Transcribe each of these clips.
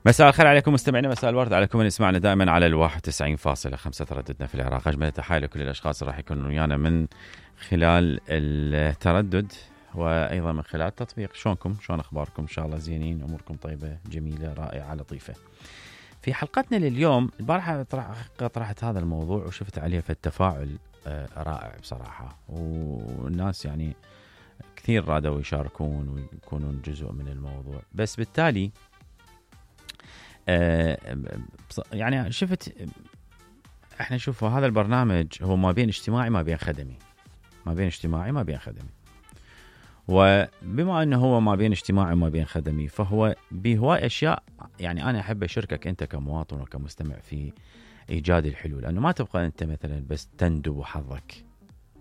مساء الخير عليكم مستمعينا، مساء الورد عليكم من يسمعنا دائما على 91.5 ترددنا في العراق. أجمل تحايل لكل الأشخاص اللي راح يكونوا ويانا من خلال التردد وأيضا من خلال التطبيق. شلونكم؟ شلون أخباركم؟ إن شاء الله زينين، أموركم طيبة جميلة رائعة لطيفة. في حلقتنا لليوم البارحة طرحت هذا الموضوع وشفت عليه في التفاعل رائع بصراحة، والناس يعني كثير رادوا يشاركون ويكونون جزء من الموضوع. بس بالتالي يعني شفت احنا نشوف هذا البرنامج هو ما بين اجتماعي ما بين خدمي، ما بين اجتماعي ما بين خدمي، وبما انه هو ما بين اجتماعي وما بين خدمي فهو بهواي اشياء يعني انا احب اشاركك انت كمواطن وكمستمع في ايجاد الحلول، لانه ما تبقى انت مثلا بس تندب حظك،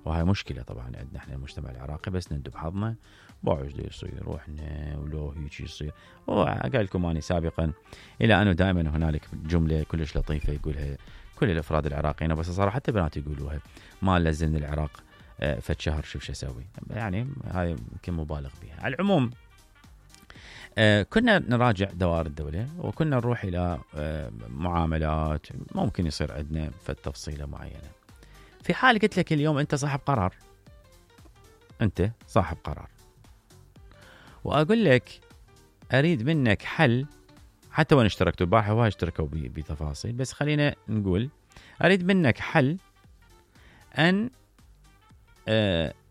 وهي مشكله طبعا عندنا احنا المجتمع العراقي، بس نندب حظنا بايش دا يصير واحنا ولو هيك يصير. وقال لكم اني سابقا الى انه دائما هنالك جمله كلش لطيفه يقولها كل الافراد العراقيين، بس صراحه حتى بنات يقولوها: ما لزلنا العراق فد شهر شوف شو اسوي. يعني هاي يمكن مبالغ بها. على العموم كنا نراجع دوائر الدوله وكنا نروح الى معاملات ممكن يصير عندنا فد تفصيله معينه. في حال قلت لك اليوم انت صاحب قرار، انت صاحب قرار، واقول لك اريد منك حل، حتى وين اشتركتوا البارحه وهاي اشتركوا بتفاصيل، بس خلينا نقول اريد منك حل ان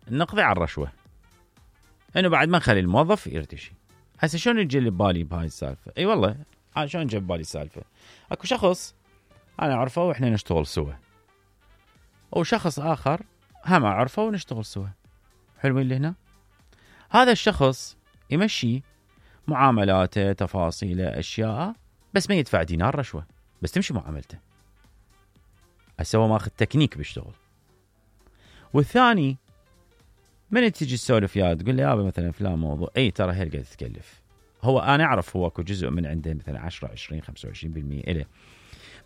نقضي على الرشوه، انه بعد ما نخلي الموظف يرتشي. هسه شلون يجي لي ببالي بهاي السالفه؟ اي والله شلون جاب بالي السالفه؟ اكو شخص انا اعرفه واحنا نشتغل سوا، وشخص آخر هم أعرفه ونشتغل سوا. حلوين اللي هنا؟ هذا الشخص يمشي معاملاته تفاصيله أشياء، بس ما يدفع دينار رشوة، بس تمشي معاملته. أسوى ماخذ تكنيك بيشتغل. والثاني من تجي تسولف يا تقول لي يابا مثلا فلان موضوع، أي ترى هي قاعد تتكلف. هو أنا أعرف هو أكو جزء من عنده مثلا 10 20 25% إله،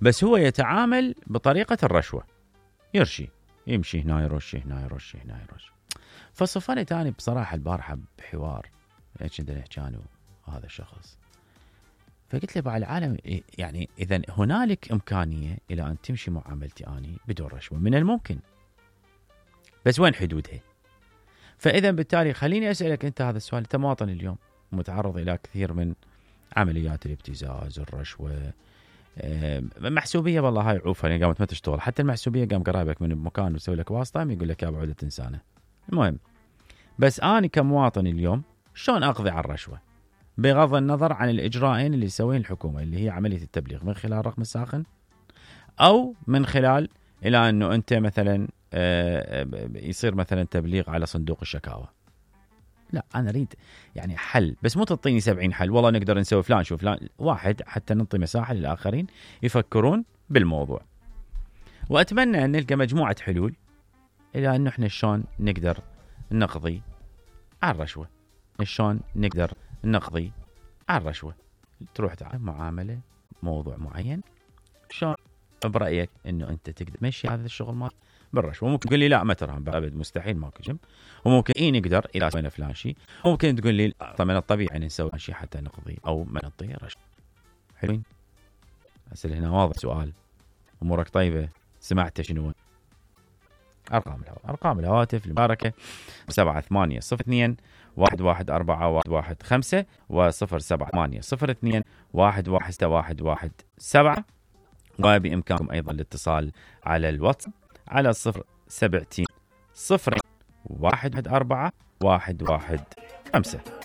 بس هو يتعامل بطريقة الرشوة، يرشي يمشي هنا يرشي هنا يرشي هنا يرشي. فصفنت أنا بصراحة البارحة بحوار ايش بدنا نحكي عنه هذا الشخص، فقلت له بعد العالم يعني إذا هنالك إمكانية إلى أن تمشي معاملتي أني بدون رشوة، من الممكن، بس وين حدودها؟ فإذا بالتالي خليني أسألك أنت هذا السؤال. أنت مواطن اليوم متعرض إلى كثير من عمليات الابتزاز، الرشوة، محسوبيه، والله هاي عوفه يعني قامت ما تشتغل، حتى المحسوبيه قام قرايبك من بمكان ويسوي لك واسطه يقول لك يا ابو عوده انسانه. المهم بس اني كمواطن اليوم شلون اقضي على الرشوه بغض النظر عن الاجراءين اللي يسويها الحكومه، اللي هي عمليه التبليغ من خلال الرقم الساخن، او من خلال الى انه انت مثلا يصير مثلا تبليغ على صندوق الشكاوى. لا انا اريد يعني حل، بس مو تعطيني 70 حل والله نقدر نسوي فلان شوف فلان، واحد حتى نعطي مساحه للاخرين يفكرون بالموضوع. واتمنى ان نلقى مجموعه حلول الى انه احنا شلون نقدر نقضي على الرشوه، شلون نقدر نقضي على الرشوه. تروح تعمل معامله موضوع معين، شلون برايك انه انت تقدر تمشي هذا الشغل مال بالرشوه؟ ممكن تقول لي لا ما ترهم ابد مستحيل ماكو جنب، وممكن نقدر الى سوينا فلان شيء، ممكن تقول لي طبعا الطبيعي نسوي شيء حتى نقضي او ما نعطي رشوه. حلوين. اسال هنا واضح سؤال، امورك طيبه؟ سمعت شنو ارقام الهواتف المباركه 7802 1141115 و07802 1161117، وبإمكانكم أيضا الاتصال على الواتساب على 070 014 115.